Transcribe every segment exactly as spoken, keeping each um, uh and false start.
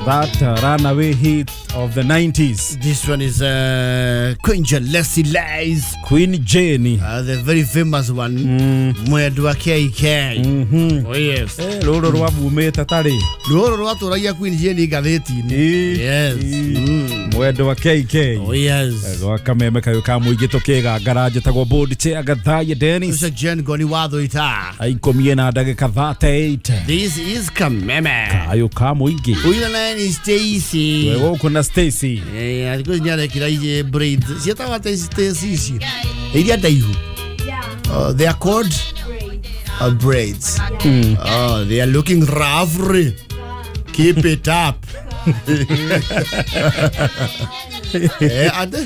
That uh, runaway hit of the nineties. This one is uh, Queen Jalesi Lies. Queen Jenny. Uh, the very famous one. Mm. Mwendwa K K. Mm-hmm. Oh yes. Eh, ruru rwa bumite tari. Ruru rwa turagia Queen Jenny ngatheti-inĩ. Yes. Mm. Mwendwa K K. Oh yes. Gwa kameme kayo ka muingi tukigangara njitagwo board chair Gathaya Dennis. Ucio Jen Goni watho ita. Aikomie na ndagika thirty-eight. This is Kameme. Kayo ka muingi. Uyu na ni Stacy. Wewe uko na Stacy. Eh, alikuwa ni arekira ije braids. Cietagwo atĩ Stacy ici. Iria ndaihu. Yeah. Uh, they are called braids. Uh, braids. Mm. Oh, they are looking roughly. Keep it up. Eh, ade?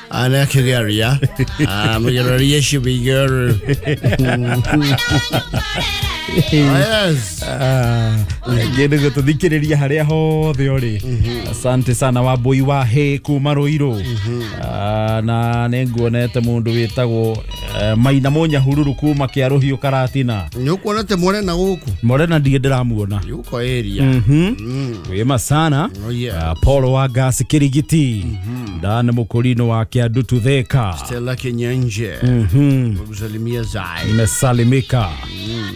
Ana kugeria. Ah, mugeria shibigero. Yes. Ah, ngende gututhikiriria haria hothe uri. Asante sana Wambui wa he kuma Ruiru. Ah, na ninguonete mundu witagwo Maina Munyahururu kuma Kiaruhiu Karatina. Ni Morena guku. Morena ndige ndiramuona. Yuko area. Mhm. Wema sana. Oh yeah. Paul wa Gas Kirigiti. Dan Mukurino wa Kiadutu Theka. Stella Kinyenje. Mhm. Gusalimia zai. Nimesalimika.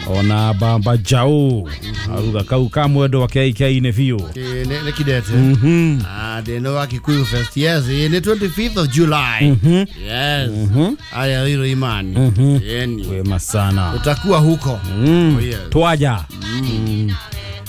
Ona Bamba Jau. Aruga kau ka mwendo wa K K ne biũ. Ne ne kidete. Mhm. Ah, de no wa Kikuyu Fest. Yes, in twenty-fifth of July. Yes. Aya hilo imani. Yeni. Wema sana. Utakuwa huko. Mm. Oh, yes. Twaja. Mm.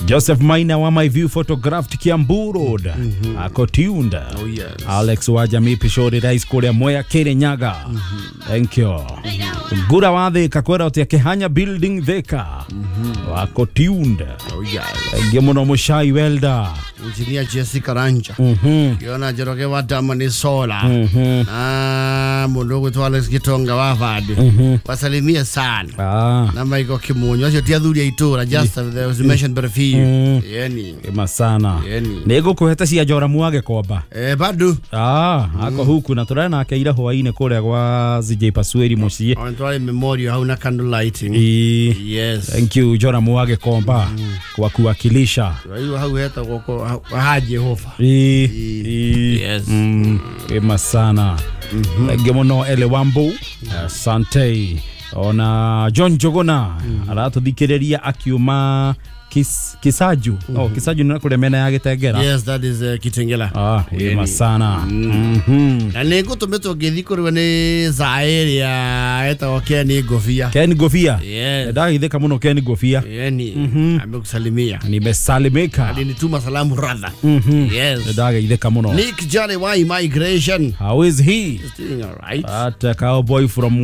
Joseph Maina wa My View Photographed Kiambu Road. Mm -hmm. Ako tuned. Oh, yes. Alex wa Jamii Pishori Rais kuria Mwea Kirinyaga. Mm -hmm. Thank you. Mm -hmm. Ngura wa Thika kwera utia Kihanya Building Thika. Mm -hmm. Wako tuned. Oh, yes. Thank muno Mushai Welder. Engineer Jessica Ranja. Mm -hmm. Yona Njoroge wa Damani Sola. Mm -hmm. Ah, mundu gwitwo Alex Gitonga wa Vadi. Mm -hmm. Wasalimia sana. Ah. Na Michael Kimunyo acio ti athuri a itura just there was mentioned but a few. Mm. Yeni. Ema sana. Yeni. Nĩngũkũhete cia Joramu wa Gĩkomba. Eh, bado. Ah, ako huku na tũrare nake ira hwainĩ kũrĩa gwa C J Pasueri mũciĩ. On twari memorial hau na candle lighting. E. Yes. Thank you Joramu wa Gĩkomba mm. kwa kuwakilisha. Hiyo hau hetagwo kwa ha Jehova. E. E. Yes. Mm. Ema sana. Thank you muno Ele Wambu. Asante. Ona John Jogona mm. aratũthikĩrĩria akiuma Kis, Kisaju. Mm -hmm. Oh, Kisaju ni kule mena ya Gitengera. Yes, that is uh, Kitengela. Ah, yema sana. Mm -hmm. Na nĩngũtũmĩtwo ngĩthiĩ kũrĩwe nĩ Zaire ya etagwo Ken Ngobia. Ken Ngobia. Yes. Ndagithĩka mũno Ken Ngobia. Yeni. Mm -hmm. Amekusalimia. Nimesalimika. Alinituma salamu rather. Mm -hmm. Yes. Ndagithĩka mũno. Nick Johnny wa immigration. How is he? He's doing all right. At uh, cowboy from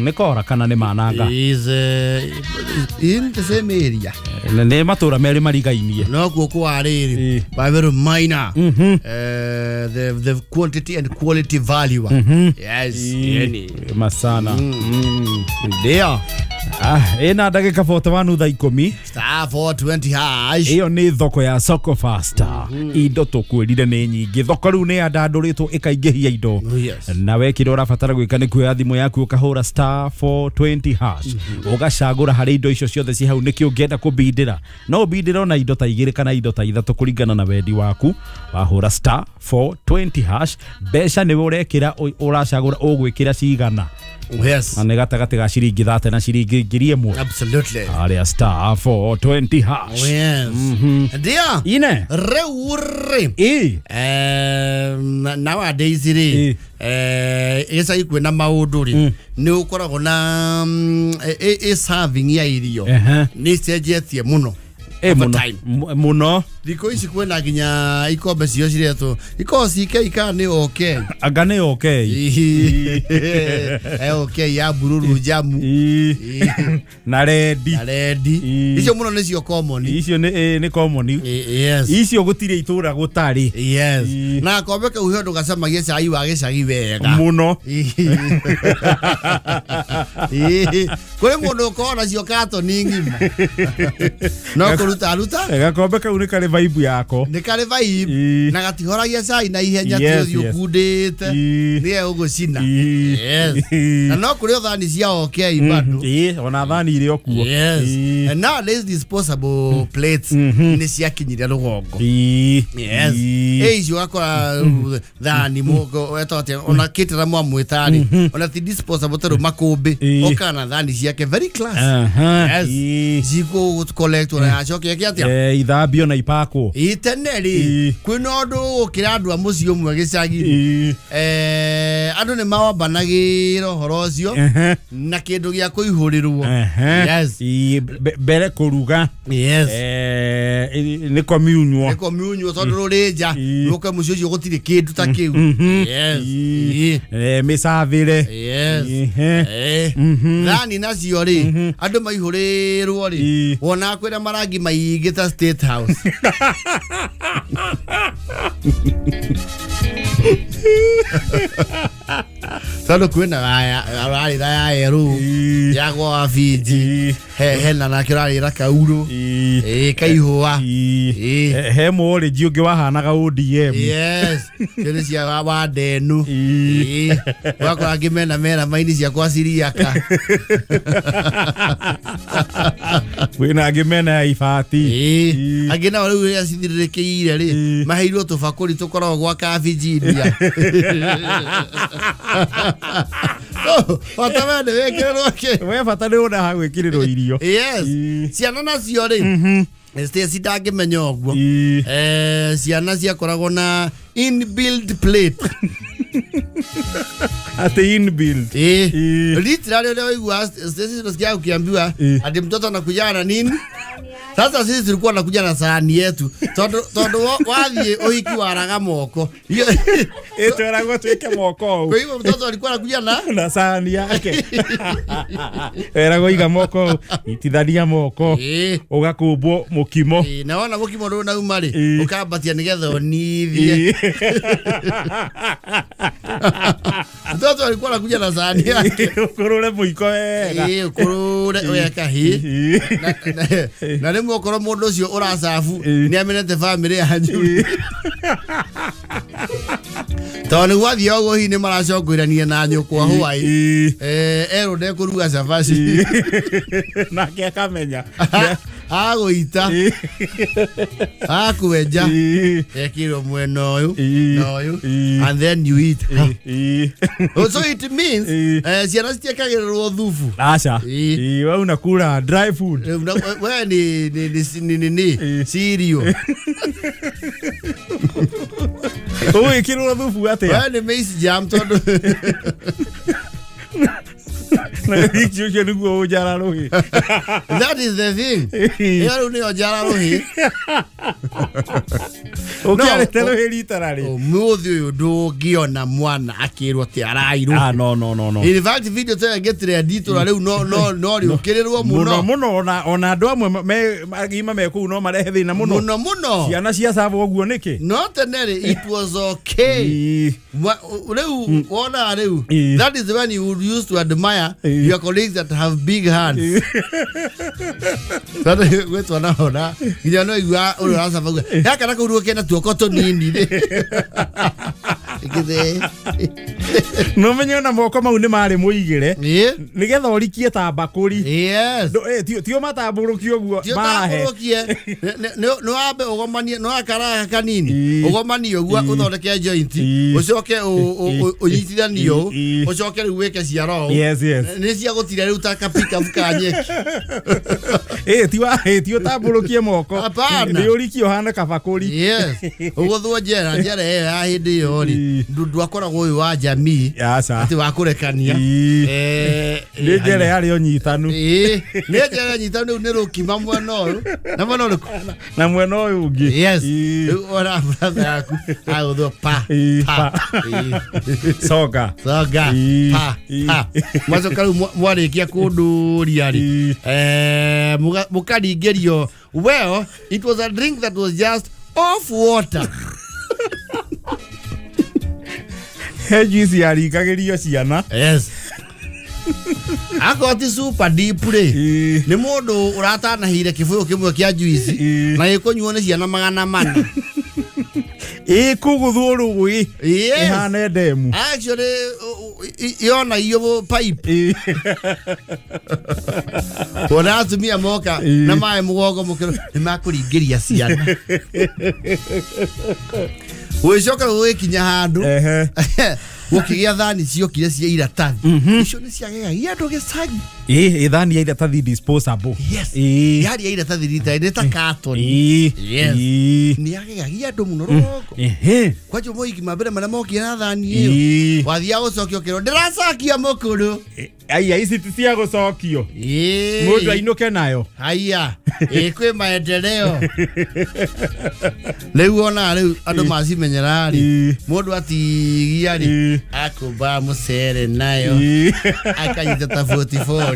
Nikora kana nĩ Mananga. He is uh, in the same area. Nĩ matũra merĩ marigainie. No kuo kwa rĩrĩ by very minor. Mm -hmm. Uh, the the quantity and quality value. Mm -hmm. Yes, yeni. Masana. Mm. Mm. Ndio. Ah, ina ndagika forty-one thaa ikũmi. Star four twenty hash. Iyo nĩ thoko ya Soko Faster. Mm -hmm. Indo tũkwĩrire nĩ nyingĩ. Thoko rĩu nĩ yandandũrĩtwo ĩkaingĩhia indo. Oh, yes. Na we kĩrĩa ũrabatara gwĩka nĩ kuoya thimũ yaku ũkahũra star four twenty hash. Mm -hmm. Ũgacagũra harĩ indo icio ciothe ci hau nĩkĩ ũngĩenda kũbindĩra. No ũbindĩre ona indo ta igĩrĩ kana indo ta ithatũ kũringana na wendi waku. Wahũra star four twenty hash. Mbeca nĩwe ũrekĩra ũracagũra ũgwĩkĩra cigana. Yes. Na nĩ gatagatĩ ga ciringi thate na ciringi ngiri ĩmwe. Absolutely. Aria star four twenty hash. Oh, yes. Mm -hmm. Ndio. Ine. Rĩu rĩ. E. Eh, nowadays rĩ. Eh, gĩcagi kwĩna maũndũ rĩ. Nĩ ũkoragwo na ĩ serving ya irio. Nĩ cenjetie mũno. E muno muno thikũ ici kwĩna nginya ikombe cio ciretwo ikoragwo ci K kana nĩ OK. Anga nĩ OK. Eh, OK ya bururu jamu na rendi. Na rendi. Icio mũno nĩcio common. Icio nĩ nĩ common. Yes. Icio gũtirĩ itũra gũtarĩ. Yes. Na kombe kau he ũndũ gacamagia cai wa gĩcagi wega. Mũno. Kũrĩ mũndũ ũkoragwo nacio katoni ng'ima. No kũruta Aruta aruta Gakombe kau nĩ karĩ vibe yako. Nĩ karĩ vibe na gatihoragia cai na ihenya ti ũthiũ kundĩte nĩwe ũgũcina. Yes. Na no kũrĩ thani cia okay bado. Ĩĩ ona thani irĩ o kuo. Yes. And nowadays disposable plates nĩ ciakinyire rũgongo. Yes. Ĩĩ icio ũgakora thani mũgo wetwo atĩa ona kĩtĩra mwamwĩtarĩ ona ti disposable tondũ makũmbĩ ũkana thani ciake very class. Yes. Cikũ collect ona acoke eke atĩa? Eh ithambio na ipakwo. Ĩĩ tene rĩ kwĩna ũndũ gũkĩra andũ a mũciĩ ũmwe gĩcagi. Eh andũ nĩ mawambanagĩra ũhoro ũcio na kĩndũ gĩa kũihũrĩrwo. Yes. Mbere kũruga. Yes. Eh nĩ communio. Nĩ communio tondũ rũrĩ nja rũke mũciĩ ũcio gũtirĩ kĩndũ ta kĩu. Yes. Eh mĩcavĩre. Yes. Eh thani nacio rĩ andũ maihũrĩrwo rĩ wona kwĩna marangi maingĩ ta State House. Tondũ kwĩna ararĩra ya yerũ ya gwa Fiji he hena nake ũrarĩra kaurũ ĩĩ kaihũa ĩĩ he mũrĩnji ũngĩ wahanaga O D M. Yes. Cio cia wa ndenu ĩĩ wakora angĩ mena mera maini cia kwa Siriaka kwĩna angĩ mena ya ibati ĩĩ angĩ nao rĩu rĩrĩa cithirĩrĩkĩire rĩ maheirwo tũbakũri tũkoragwo gwa Kabijinia. Bata we nĩ wĩkĩrĩrwo kĩ we bata nĩ wona ha gwĩkĩrĩrwo irio. Yes. Ciana nacio rĩ Stacy ndangĩmenya ũguo. Eh ciana ciakoragwo na inbuilt plate. Ate inbuilt. Eh. Literally leo waigua Stacy nasikia ukiambiwa ati mtoto anakuja na nini? Sasa sisi tulikuwa nakuja na sahani yetu. Tondu tondu wathiĩ ũhiki waraga moko. Eh tweragwo twĩke moko. Kwa hivyo mtoto alikuwa anakuja na na sahani yake. Eragwo iga moko, itithania moko. Ũgakũmbwo mũkimo. Eh na wona mũkimo ndũnauma rĩ, ũkambatia nĩgetha ũnithie. Mtoto alikuwa anakuja na sahani yake. Ũkũrũre mũiko wega. Eh ũkũrũre wega hi. Na rĩmwe okorwo mũndũ ũcio ũracabu nĩ amenete family yanyu. Tondũ nĩ gwathiĩ ũguo hihi nĩ maracongoirania na nyũkwa hwaĩ. Eh erwo ndekũruga cabaci. Nake akamenya. Agũita. Akwenja. Ekirwo mwena ũyũ na ũyũ and then you eat. So it means eh ciana citiekagĩrĩrwo thubu. Aca. We unakula dry food. We ni ni ni ni ni cereal. Ũgwĩkĩrwo thubu atĩa? We ni maize jam tondũ na ũcio nĩguo ũnjara rũhĩ. That is the thing. Ĩyo rĩu nĩyo njara rũhĩ. Ũkĩarĩte rũhĩ rita rarĩ. Ũmũthĩ ũyũ ndũngĩona mwana akĩrwo atĩ arairwo. Ah no no no no. In fact video ta ĩngĩtrend itũra rĩu no no no rĩũkĩrĩrwo mũno. Mũno mũno ona ona andũ amwe me agima me kũu no marehe thĩna mũno. Mũno mũno. Ciana cia cabo ũguo nĩkĩ? No tene rĩ it was okay. Rĩu wona rĩu that is when you used to admire your colleagues that have big hands. Tondũ gwĩ twana ona nginya no igua ũrĩa ũracaba uga gaka na kau kena tuoko tũnini rĩ. Githe. No menye ona moko mau nĩ marĩ mũigĩre nĩgetha ũrikie ta mbakũri. Yes. Tio matambũrũkie ũguo mahe. Tio nĩ wambe ũgomanie nĩ wakaraga kanini ũgomanie ũguo ũthondeke joint ũcoke ũnyitithanie ũũ ũcoke rĩu wĩke ciara ũũ. Yes yes. Nĩ cia gũtira rĩu ta kapikabu ka nyeki. Eh ti wa eh ti ũtambũrũkie moko. Nĩ ũrikie ũhane kabakũri. Yes. Ũgũthwo njera njera ĩyo ya hĩndĩ ĩyo rĩ ndwakoragwo ũyũ wa jamii atĩ wa kũrekania. Eh nĩ njera yarĩ ũnyitanu. Ĩĩ nĩ njera nyitanu rĩu nĩ rũkima mwena ũyũ na mwena ũrĩkũ na mwena ũyũ ũngĩ. Yes. Rĩu ona brother yaku agũthwo pa pa soga soga pa pa mwacoka rĩu mwarĩkia kũndũria rĩ eh mũkaringĩrio. Well, it was a drink that was just off water. He juice yaringagĩrio ciana. Yes. Akorwo ti super deep rĩ nĩ mũndũ ũratanahire kĩbũyũ kĩmwe kĩa juice na gĩkũnyuo nĩ ciana magana mana. Ĩkũgũthwo rũĩ ĩhane ndemu. Actually yona iyo pipe. Wona atumia moka na maĩ mũgongo mũkĩro nĩ makũringĩria ciana. Gũgĩcoka gũgĩkinya handũ gũkĩgĩa thani ciokire cia iratathi. Icio nĩ ciagegagia andũ gĩcagi. Ĩ thani ya iratathi disposable. Yes. Yarĩ ya iratathi rita nĩ ta carton. Yes. Nĩ yagegagia andũ mũno rũgongo. Kwanja moigi ma mbere marĩa mokire na thani ĩyo. Wathiaga gũcokio ũkerwo ndĩracokia mũkũrũ. Aya ici ti cia gũcokio. Mũndũ ainũke nayo. Haya. Ĩ kwĩ maendeleo. Rĩu ona rĩu andũ macimenyera rĩ mũndũ atigia rĩ akũmba mũcere nayo akanyita ta forty-four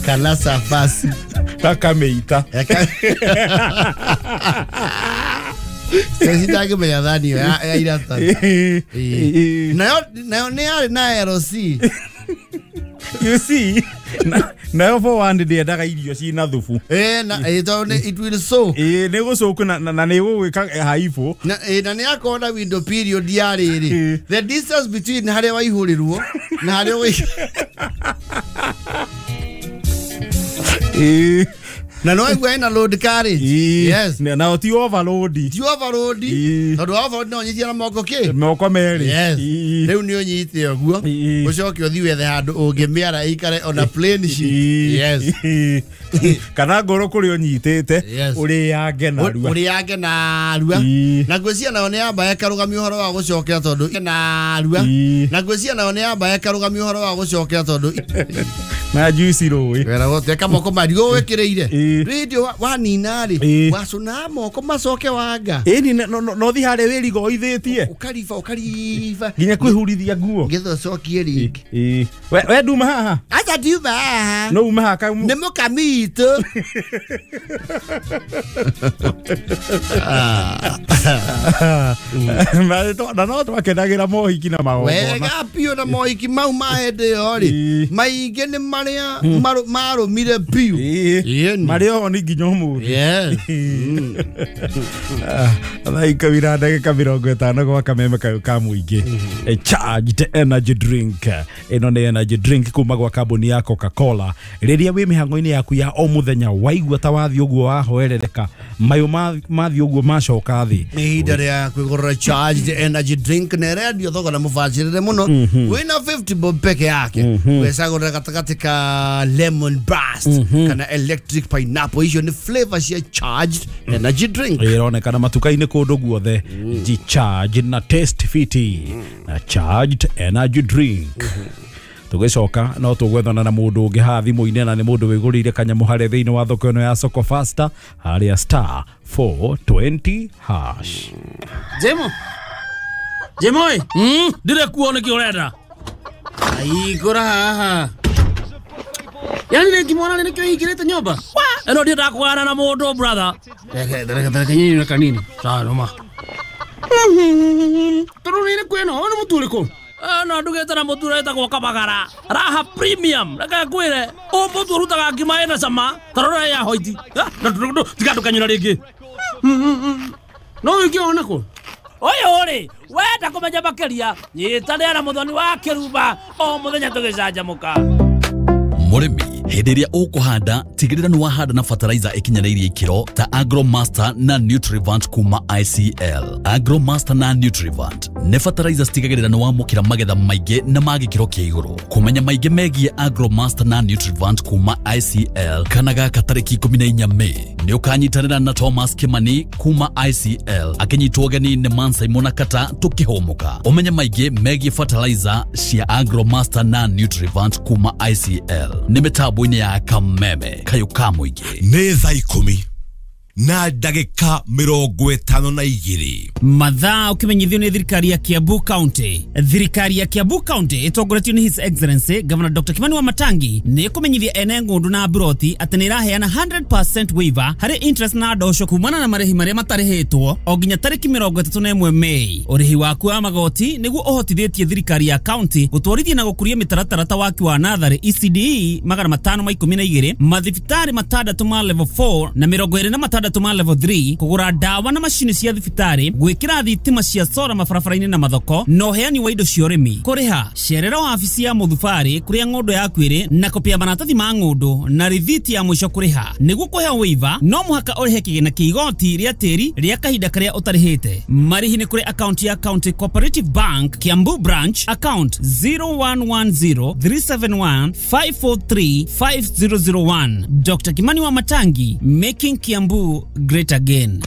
kana safasi akamĩita. Sasa ndangĩmenya thani ĩyo ya iratathi. Nayo nayo nĩ yarĩ na L C. You see, nayo for one ndĩendaga irio ciĩna thubu. Eh na tondũ nĩ it will soak. Eh nĩ gũcoka na na nĩ gũgwĩka haibũ. Na na nĩ yakorwo na window period ya rĩrĩ. The distance between harĩa waihũrĩrwo na harĩa ũgĩ Eh na no igua ina load carriage. Yes. Na ti overload. Ti overload. Tondũ overload no ũnyitie na moko kĩ? Moko merĩ. Yes. Rĩu nĩ ũnyite ũguo ũcoke ũthiĩ wethe handũ ũngĩmĩara ĩikare on a plain sheet. Yes. Kana ngoro kũrĩa ũnyitĩte ũrĩange narua. Ũrĩange narua. Na ngwĩciria nayo nĩ yamba ĩkarũgamia ũhoro wa gũcokera tondũ narua. Na ngwĩciria nayo nĩ yamba ĩkarũgamia ũhoro wa gũcokera tondũ na juice rũĩ. Wera gũteka moko marigũ wĩkĩrĩire. Radio wanina rĩ wacũna moko macoke wanga. Ĩni no thi harĩa wĩrigoithĩtie. Ũkariba ũkariba nginya kwĩhurithia nguo. Ngetha ũcokie rĩngĩ. We we nduma haha. Acha ndiuma haha. No uma haha. Nĩ mũkami witũ. Na no twakenagĩra mohiki na magongona. Wega biũ na mohiki mau ma hĩndĩ ĩyo rĩ maingĩ nĩ marĩa marũmire biũ. Marĩ oho nĩ nginya ũmũthĩ. Thaa ikũmi na ndagĩka mĩrongo ĩtano gwa kameme kayũ ka mũingĩ. Charged energy drink. Ĩno nĩ energy drink kuma gwa kambuni ya Coca-Cola. Rĩrĩa wĩ mĩhang'o-inĩ yaku ya o mũthenya waigua ta wathiĩ ũguo wahoerereka mayũ mathiĩ ũguo macoka thĩ. Nĩ ihinda rĩa kwĩgũrĩra charged energy drink na ĩrendio thogora mũbacĩrĩre mũno wĩna fifty bob peke yake. Wecagũrĩra gatagatĩ ka lemon burst kana electric pineapple. Icio nĩ flavor cia charged energy drink. Ĩronekana matuka-inĩ kũndũ guothe. G-charge na taste fiti na charged energy drink. Tũgĩcoka no tũgwethana na mũndũ ũngĩ haha thimũ-inĩ na nĩ mũndũ wĩgũrĩire kanyamũ harĩa thĩinĩ wa thoko ĩno ya Soko Faster harĩa star four twenty hash. Jemo. Jemo ĩ. Mm, ndire kuo nĩkĩ ũrenda. Aigũra haha. Yani rĩngĩ mwana nĩkĩo hingĩrĩte nyũmba. Ĩno ndiendaga kũgana na mũndũ brother. Reke reke reke nyinyi na kanini. Sawa noma. Tondũ nĩ kwĩno, nĩ mũtu ũrĩkũ? No ndugĩte na mũtu ũretagwo Kabagara. Raha premium. Reke ngwĩre, ũyũ mũtu ũrutaga ngima ĩna cama, ta rora ya hoiti. Tiga ndũkanyũra rĩngĩ. No ũngĩona kũ? Ũyũ rĩ, wenda kũmenya makĩria, nyitanĩra na Mũthoni wa Kĩrumba o mũthenya tũgĩcanjamũka. Mũrĩmi hĩndĩ ĩrĩa ũkũhanda tigĩrĩra nĩ wahanda na fertilizer ĩkinyanĩirie ikĩro ta Agromaster na Nutrivant kuma I C L. Agromaster na Nutrivant nĩ fertilizer citigagĩrĩra nĩ wamũkĩra magetha maingĩ na ma gĩkĩro kĩa igũrũ. Kũmenya maingĩ megiĩ Agromaster na Nutrivant kuma I C L kana gaka tarĩki ikũmi na inya Mĩĩ nĩ ũkanyitanĩra na Thomas Kimani kuma I C L akĩnyitwo ũgeni nĩ Mansai Mũnakata tũkĩhũmũka. Ũmenye maingĩ megiĩ fertilizer cia Agromaster na Nutrivant kuma I C L nĩ mĩtambo-inĩ ya Kameme kayũ ka mũingĩ. Nĩ thaa ikũmi Na ndagĩka mĩrongo ĩtano na igĩrĩ. Mathaa ũkĩmenyithio nĩ thirikari ya Kiambu County. Thirikari ya Kiambu County ĩtongoretio nĩ His Excellency Governor Doctor Kimani Wamatangi nĩ ĩkũmenyithia ene ng'ũndũ na mburoti atĩ nĩ ĩraheana one hundred percent waiver harĩ interest na ndosho kumana na marĩhi marĩa matarĩhĩtwo o nginya tarĩki mĩrongo ĩtatũ na ĩmwe Mei. Ũrĩhi waku wa magoti nĩguo ũhotithĩtie thirikari ya county gũtwarithia na gũkũria mĩtaratara ta waki wa natharĩ E C D E magana matano ma ikũmi na igĩrĩ, mathibitarĩ matandatũ ma level four na mĩrongo ĩrĩ na matandatũ ma level three, kũgũra ndawa na macini cia thibitarĩ, gwĩkĩra thitima cia sora mabarabara-inĩ na mathoko, na ũheani wa indo cia ũrĩmi. Kũrĩha, cerera wabici ya mũthubarĩ kũrĩa ng'ũndũ yaku ĩrĩ na kopi ya maratathi ma ng'ũndũ na rithiti ya mũico kũrĩha. Nĩguo kũheo waiver, no mũhaka ũrĩhe kĩgĩna kĩa igoti rĩa tĩri rĩa kahinda karĩa ũtarĩhĩte. Marĩhi nĩ kũrĩ akaunti ya County Cooperative Bank, Kiambu Branch, account zero one one zero three seven one five four three five zero zero one. Doctor Kimani Wamatangi, making Kiambu great again.